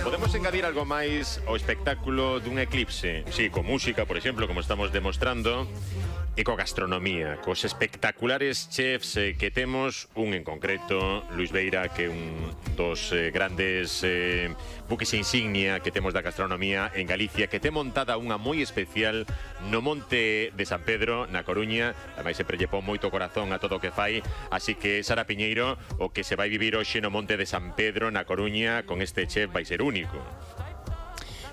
Podemos engadir algo máis ao espectáculo dun eclipse? Sí, con música, por exemplo, como estamos demostrando, e co gastronomía, cos espectaculares chefs que temos, un en concreto, Luis Beira, que é un dos grandes buques insignia que temos da gastronomía en Galicia, que ten montada unha moi especial no Monte de San Pedro, na Coruña. Ademais, sempre lle pon moito corazón a todo o que fai. Así que, Sara Piñeiro, o que se vai vivir hoxe no Monte de San Pedro, na Coruña, con este chef vai ser único.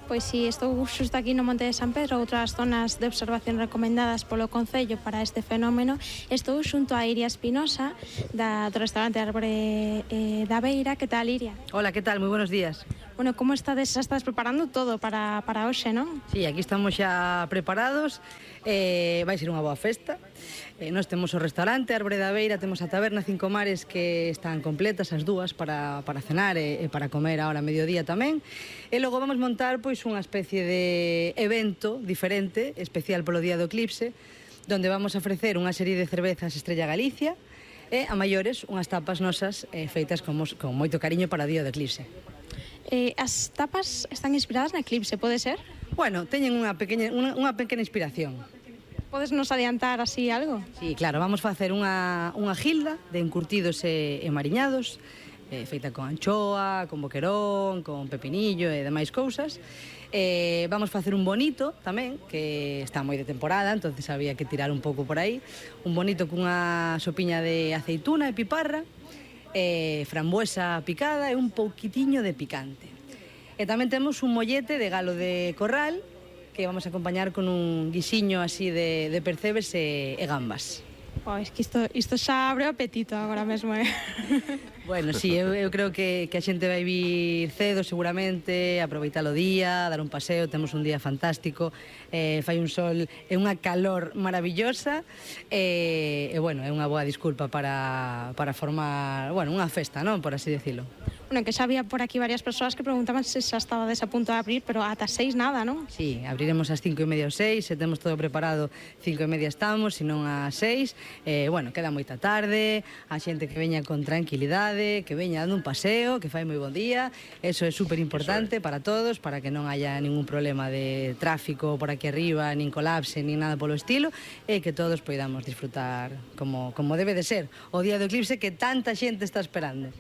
Pois si, estou xusto aquí no Monte de San Pedro, outras zonas de observación recomendadas polo Concello para este fenómeno. Estou xunto a Iria Espinosa, do restaurante Árbore da Beira. Que tal, Iria? Hola, que tal? Moi buenos días. Bueno, como estades? Xa estás preparando todo para hoxe, non? Sí, aquí estamos xa preparados. Vai ser unha boa festa. Nós temos o restaurante Árbore da Beira, temos a taberna Cinco Mares, que están completas as dúas para cenar e para comer ahora a mediodía tamén. E logo vamos montar pois unha especie de evento diferente, especial polo Día do Eclipse, donde vamos a ofrecer unha serie de cervezas Estrella Galicia e a maiores unhas tapas nosas feitas con moito cariño para o Día do Eclipse. As tapas están inspiradas na eclipse, pode ser? Bueno, teñen unha pequena inspiración. Podes nos adiantar así algo? Sí, claro, vamos facer unha gilda de encurtidos e mariñados, feita con anchoa, con boquerón, con pepinillo e demais cousas. Vamos facer un bonito tamén, que está moi de temporada, entonces había que tirar un pouco por aí. Un bonito cunha sopiña de aceituna e piparra, frambuesa picada e un pouquitiño de picante. E tamén temos un mollete de galo de corral, que vamos a acompañar con un guisiño así de percebes e gambas. Pois que isto xa abre o apetito agora mesmo, Bueno, sí, eu creo que a xente vai vir cedo seguramente, aproveitar o día, dar un paseo, temos un día fantástico, fai un sol e unha calor maravillosa, e bueno, é unha boa disculpa para formar, bueno, unha festa, non, por así decirlo. Bueno, que xa había por aquí varias persoas que preguntaban se xa estaba a punto de abrir, pero ata 6 nada, non? Sí, abriremos ás 5:30 ou 6, se temos todo preparado 5:30 estamos, se non ás 6. Bueno, queda moita tarde, a xente que veña con tranquilidade, que veña dando un paseo, que fai moi bon día. Eso é super importante para todos, para que non haya ningún problema de tráfico por aquí arriba, nin colapse, nin nada polo estilo, e que todos poidamos disfrutar como debe de ser o día do eclipse que tanta xente está esperando.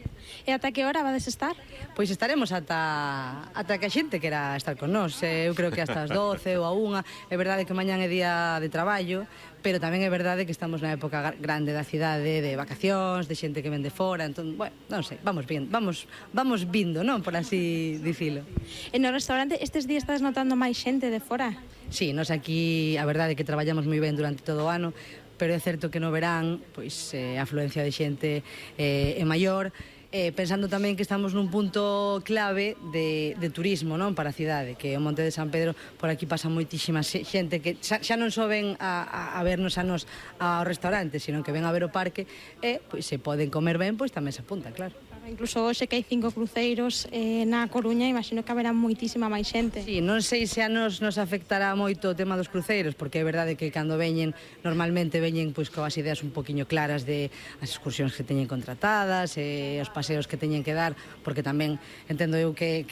E ata que hora vades estar? Pois estaremos ata que a xente quera estar con nós. Eu creo que hasta as 12 ou a 1. É verdade que mañán é día de traballo, pero tamén é verdade que estamos na época grande da cidade, de vacacións, de xente que ven de fora, entón, bueno, non sei, vamos vindo, non, por así dicilo. E no restaurante estes días estás notando máis xente de fora? Sí, nós aquí, a verdade é que traballamos moi ben durante todo o ano, pero é certo que no verán, pois, a afluencia de xente é maior, pensando tamén que estamos nun punto clave de turismo, non, para a cidade, que o Monte de San Pedro, por aquí pasa moitísima xente que xa non só ven a vernos a nos ao restaurante, sino que ven a ver o parque e, pois, se poden comer ben, pois tamén se apuntan, claro. Incluso hoxe que hai 5 cruceiros na Coruña, imagino que haberá moitísima máis xente. Sí, non sei se a nos afectará moito o tema dos cruceiros, porque é verdade que cando veñen, normalmente veñen pois coas ideas un poquinho claras de as excursións que teñen contratadas, os paseos que teñen que dar, porque tamén entendo eu que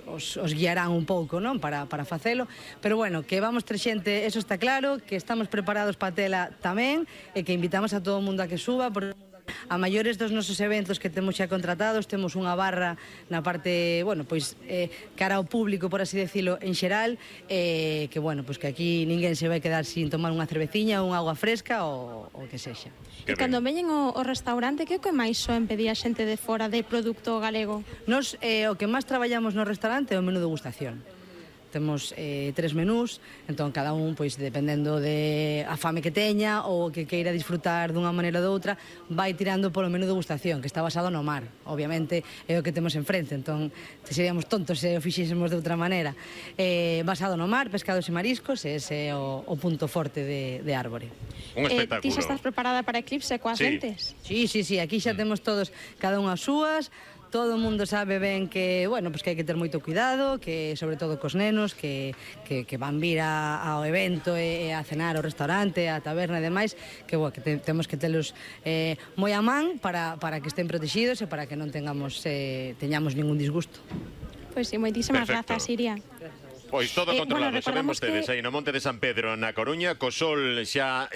os guiarán un pouco, non, para facelo, pero bueno, que vamos ter xente, eso está claro, que estamos preparados para tela tamén, e que invitamos a todo o mundo a que suba, porque a maiores dos nosos eventos que temos xa contratados, temos unha barra na parte, bueno, pois cara ao público, por así decirlo, en xeral, que bueno, pois que aquí ninguén se vai quedar sin tomar unha cerveciña ou unha agua fresca ou que sexa. E cando veñen ao restaurante, que é o que máis soen pedir a xente de fora de produto galego? Nos, o que máis traballamos no restaurante é o menú degustación. Temos 3 menús, entón cada un, pois, dependendo de a fame que teña ou que queira disfrutar dunha maneira ou doutra, vai tirando polo menú degustación, que está basado no mar. Obviamente é o que temos enfrente, entón seríamos tontos se o fixésemos de outra maneira. Basado no mar, pescados e mariscos, e ese é o punto forte de Árbore. Un espectáculo. Ti xa estás preparada para Eclipse coas lentes? Sí, aquí xa temos todos, cada unha as súas. Todo o mundo sabe ben que, bueno, pues que hai que ter moito cuidado, que sobre todo cos nenos que van vir ao evento e a cenar ao restaurante, á taberna e demais, que, bueno, que temos que telos moi a man para que estén protegidos e para que non teñamos ningún disgusto. Pois sí, moitísimas Perfecto. grazas, Iria. Pois todo controlado, bueno, xa ven recordamos vostedes que- aí no Monte de San Pedro, na Coruña, co sol xa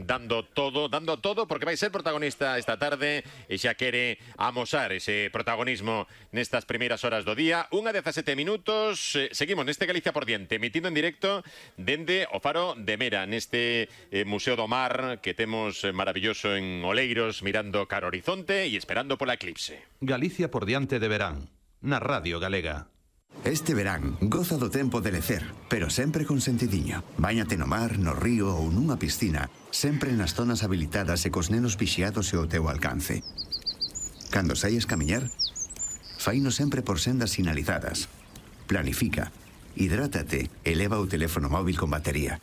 dando todo, porque vai ser protagonista esta tarde e xa quere amosar ese protagonismo nestas primeiras horas do día. 1:17 minutos, seguimos neste Galicia por diante, emitindo en directo dende o Faro de Mera, neste Museo do Mar que temos maravilloso en Oleiros, mirando cara ao horizonte e esperando pola eclipse. Galicia por diante de verán, na Radio Galega. Este verán, goza do tempo de lecer, pero sempre con sentidiño. Báñate no mar, no río ou nunha piscina, sempre nas zonas habilitadas e cos nenos vixiados e ao teu alcance. Cando saies camiñar, faino sempre por sendas sinalizadas. Planifica, hidrátate e leva o teléfono móvil con batería.